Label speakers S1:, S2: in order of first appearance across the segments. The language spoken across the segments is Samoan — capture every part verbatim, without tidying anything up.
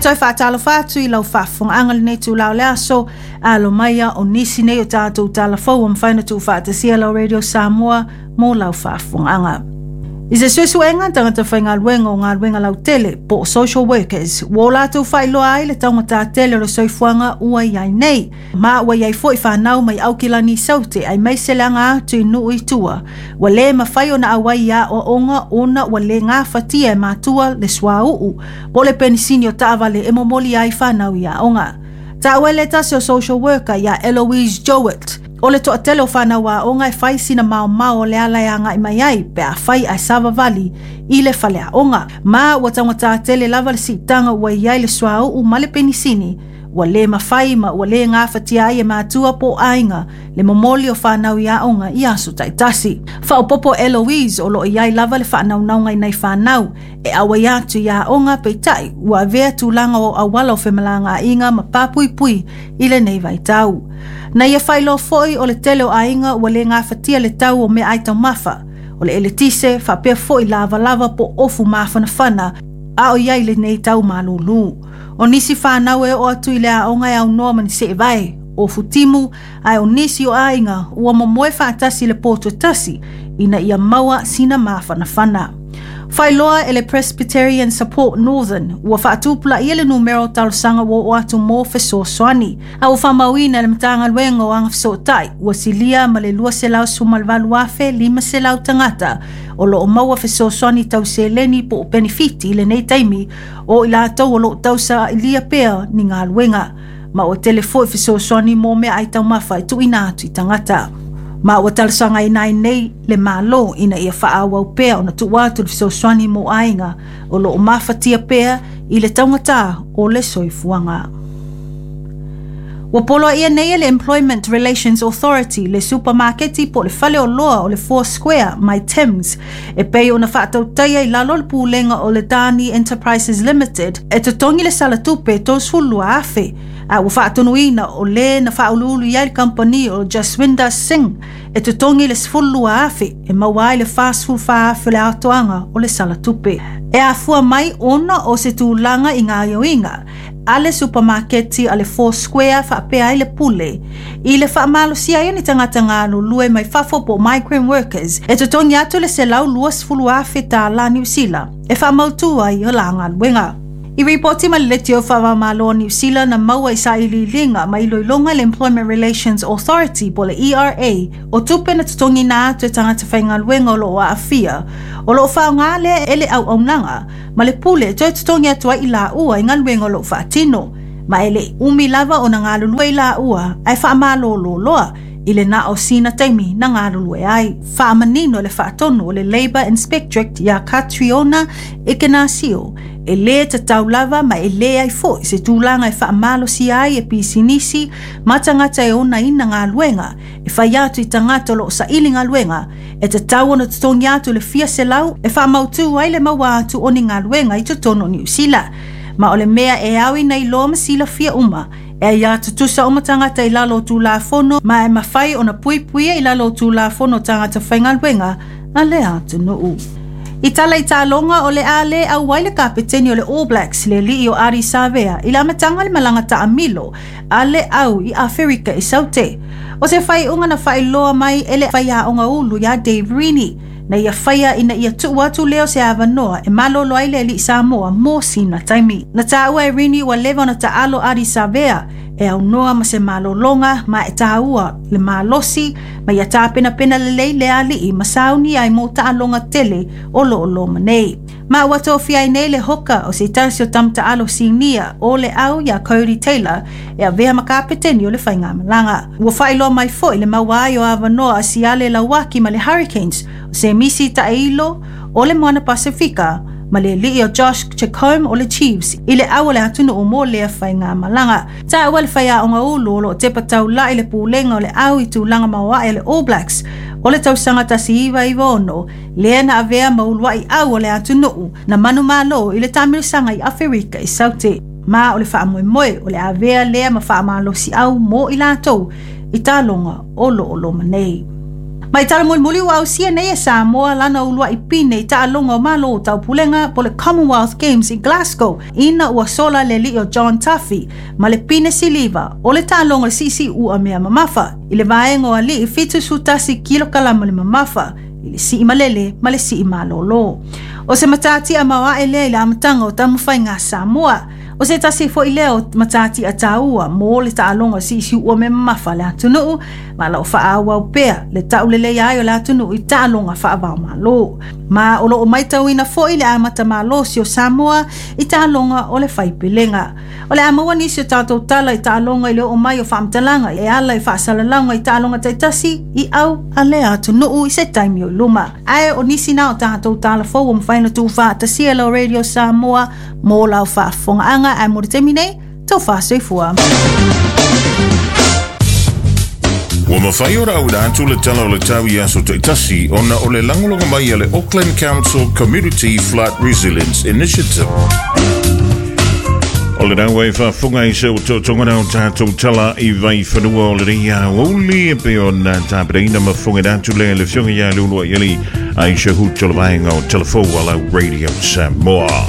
S1: Toe faatalofa atu i lau faafofogaaga lenei itulā o le aso. Alo maia o nisi nei o tatou talafou ua mafai ona tuufaatasia lau Radio Samoa mo lau faafofogaaga. I se suesuega tagata faigaluega o galuega lautele po o social workers, ua o latou faailoa ai le taugatā tele o le soifuaga ua i ai nei, ma ua i ai foi fanau mai Aukilani i Saute aemaise le aga atu i nuu i tua ua lē mafai ona auai i aoaoga ona ua lē gafatia e matua le suauu po o le penisini o taavale e momoli ai fanau i aoga. Taua e le tasi o social worker ia Eloise Jowett, o le toatele o fanau aoga e fai sina maomao o le ala e agai mai ai pe a fai ae savavali i le faleaoga, ma ua taugatā tele lava le siitaga ua i ai le suauu ma le penisini ua lē mafai ma ua lē gafatia ai e matua po o aiga le momoli o fanau i aoga i aso taitasi. Faaopopo Eloise, o loo i ai lava le faanaunauga i nai fanau e auai atu i aoga, peitai ua avea tulaga o auala o femalagaaiga ma papuipui i lenei vaitau. Na ia faailoa foi o le tele o aiga ua lē gafatia le tau o meaai taumafa, o le eletise faapea foi lavalava po o ofu mafanafana a o i ai lenei tau malūlū. O nisi fanau e oo atu i le aoga e aunoa ma ni seevae, ofu timu, ae o nisi o aiga ua momoe faatasi le poto e tasi ina ia maua sina mafanafana. Faailoa e le Presbyterian Support Northern ua faatupulaia le numera o talosaga ua oo atu mo fesoasoani, a ua faamauina e le Matagaluega o Agafesootai ua silia ma le lua selau sefuluvalu afe lima selau tagata o loo maua fesoasoani tau seleni po o penefiti i lenei taimi, o i latou o loo tausailia pea ni galuega, ma ua tele foi fesoasoani mo meaai taumafa e tuuina atu i tagata. Ma ua talosagaina ai nei le Malo ina ia faaauau pea ona tuu atu le fesoasoani mo aiga o loo mafatia pea i le taugatā o le soifuaga. Ua poloaia nei e le Employment Relations Authority le supamaketi po o le faleoloa o le Four Square mai Timms e pei ona faatautaia i lalo o le pulega o le Dani Enterprises Limited e totogi le sala tupe tolusefulu lua afe, a ua faatonuina o lē na faauluulu i ai le kamupani o Jaswinder Singh e totogi le sefulu lua afe e maua ai le fasefulu fa afe o le atoaga o le sala tupe. E afua mai ona o se tulaga i gaoioiga a le supamaketi a le Four Square faapea ai le pule i le faamalosia ai o ni tagata galulue mai fafo po o migrant workers e totogi atu le selau luasefulu afe tālā Niu Sila e faamautū ai o la galuega. I ripoti ma le leitio faava-o-Malo o Niu Sila na maua i sailiiliga ma iloiloga le Employment Relations Authority po le E R A o tupe na totogina atu e tagata faigaluega o loo aafia o loo faaaogā lea e le auaunaga ma le pule e toe totogi atu ai i laua i galuega o loo faatino, ma e lei umi lava ona galulue i laua ae faamalōlō loa i le na o sina taimi na galulue ai. Faamanino le faatonu o le Labour Inspectorate iā Catriona Ignacio, e lē tatau lava ma e lē ai foʻi se tulaga e faamalosia ai e pisinisi ma tagata e onaina galuega e fai atu i tagata o loo saili galuega e tatau ona totogi atu le fia selau e faamautū ai le maua atu o ni galuega i totonu o Niu Sila. Ma o le mea e ao ina iloa ma silafia uma, e aiā tutusa uma tagata i lalo o Tulafono ma e mafai ona puipuia i lalo o Tulafono tagata faigaluega a le atunuu. I tala i taaloga, o le a lē auai le kapeteni o le All Blacks, le alii o Ardie Savea, i le amataga le malaga taamilo a le au i Aferika i Saute. O se faaiuga na faailoa mai e le faiaoga ulu iā Dave Rennie na ia faia ina ia tuu atu lea o se avanoa e malolo ai le alii Samoa mo sina taimi. Na taua e Rennie ua leva ona taalo Ardie Savea e aunoa ma se malologa, ma e taua le malosi ma ia tapenapena lelei le alii ma sauni ai mo taaloga tele o loo loma nei. Ma ua tofia ai nei le hoka o se tasi o tamataalo sinia o le au iā Codie Taylor e avea ma kapeteni o le faigamalaga. Ua faailoa mai foi le maua ai o avanoa a Siale Lauaki ma le Hurricanes, o Semisi Taeilo o le Moana Pasifika ma le alii o Josh Jacomb o le Chiefs i le au o le atunuu mo lea faigamalaga. Taua le faiaoga ulu o loo tepa taulai le pulega o le au i tulaga maoae le All Blacks o le tausaga tasi iva iva ono, lea na avea ma uluai au o le atunuu na manumalo i le tamilosaga i Aferika i Saute, ma o le faamoemoe o le avea lea ma faamalosiau mo i latou i taloga o loo loma nei. Mai tala mulimuli ua ausia nei e Samoa lana uluai pine i taaloga o Malo o Taupulega po le Commonwealth Games i Glasgow ina ua sola le alii o John Tuffy ma le pine siliva o le taaloga siisii ua mea mamafa i le vaega o alii fitu sefulu tasi kilokalama le mamafa i le sii malele ma le sii malōlō. O se matatia maoae lea i le amataga o taumafaiga a Samoa. O se tasi foi lea o matatia taua mo le taaloga siisii ua mea mamafa le atunuu ma loo faaauau pea le taulelei ai o le atunuu i taaloga faavaomalo. Ma o loo maitauina foi le amata malosi o Samoa i taaloga o le faipelega. O le a maua nisi o tatou tala i taaloga i le oo mai o faamatalaga e ala i faasalalauga i taaloga taitasi i au a le atunuu i se taimi o i luma. Ae o nisi na o tatou tala fou ua mafai ona tuufaatasia lau Radio Samoa mo lau faafofogaaga ae mo le taimi nei, taufa soifua.
S2: Ua mafai ona auina atu le tala o le tau i aso taitasi ona o le lagolago mai a le Auckland Council Community Flood Resilience Initiative. O le naua e faafofoga i se otootoga o tatou tala i vaifanua o lenei aoauli e pei ona tapenaina ma fofogaina atu lea le afioga ia Leuluaialii Aisha Huto le vaega o Telefou a lau Radio Samoa.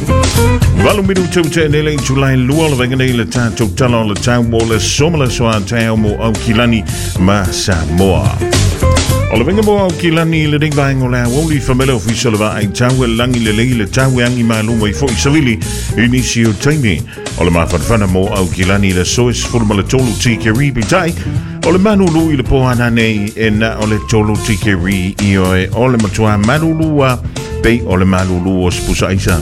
S2: Valu minutu te nele i tulai lua o le vaega nei le tatou tala o le tau mo le so ma le aso a taeao mo Aukilani ma Samoa. O le vaega mo Aukilani i lenei vaega o le aoauli famele ofisa o le vaai tau e lagi lelei le tau e agi malu mai foi savili i nisi o taimi. O le mafanafana mo Aukilani le so e sefulu ma le tolu tikeri peitai. O le malulu i le po ana nei e na o le tolu tikeri i oe o le matua malulua pei o le malulu o se pusa aisa.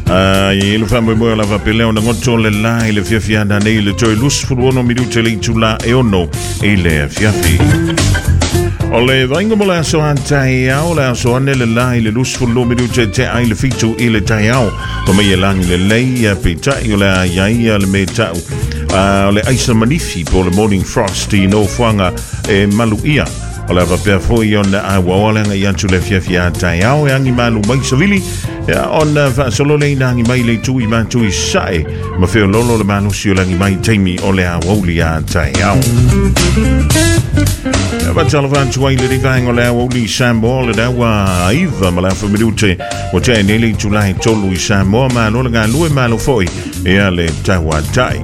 S2: I le faamoemoe o lava pele ona goto le la i le fiafia ana nei le toe luasefulu ono minute le itula e ono i le afiafi. O le vainga mo le aso a taeao, le aso ane le la i le luasefulu minute te ai le fitu i le taeao. O mai e lagi lelei a peitai o le a iai a le me tau. O le aisa manifi po le morning frost i nofoaga e malu ia. O le faapea foi ona auaoa le agai atu le afiafi a taeao e agi malu mai savili ia ona faasolo le ina agi mai le itu i matu i sae ma feololo le malosi o le agi mai taimi o le aoauli a taeao. Fatalofa atu ai lenei vaega o le aoauli i Samoa le daua iva ma le afa minute ua tea nei le itula e tolu i Samoa malo le galue malo foi ia le tauatai.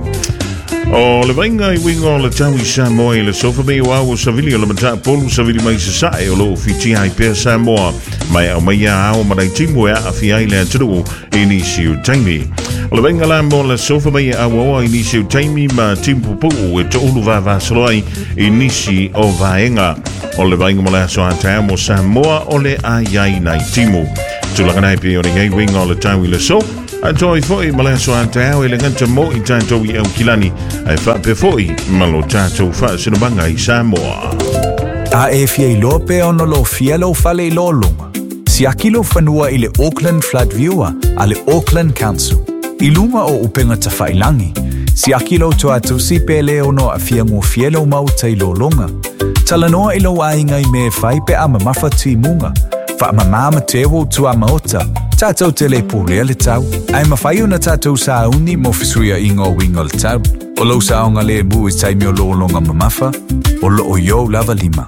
S2: O le vaaiga i uiga o le tau i Samoa i le sofa mei o ao o savili o le matapolu savili mai sasae o loo fitia ai pea Samoa mai au mai ao ma timu e aafia ai le atunuu i nisi o taimi. O le vaaiga la mo le sofa mai e auaoa i nisi o taimi ma timu pupuu e toulu vavasolo ai i nisi o vaega. O le vaaiga mo le aso a taeao mo Samoa o le ai ai nai timu. Tulaga nei pei o le iai uiga o le tau i le so. A toi foi ma le aso a taeao e le gata mo i tatou i Aukilani ae faapea foi ma lo tatou faasinomaga i Samoa.
S3: A e fia iloa pe ona lofia lou fale i lologa. Siaki lou fanua i le Auckland Flood Viewer a le Auckland Council. I luga o upega tafailagi. Siaki lou tuatusi pe le ono aafia gofie lou maota i lologa. Talanoa i lou aiga i mea e fai pe a mamafa timuga. Faamamā ma teu ou tuamaota. Tatou te le pulea le tau. Ae mafai ona tatou sauni mo fesuiaiga o uiga o le tau. O lou saogalemu i taimi o lologa mamafa, o loo i ou lava lima.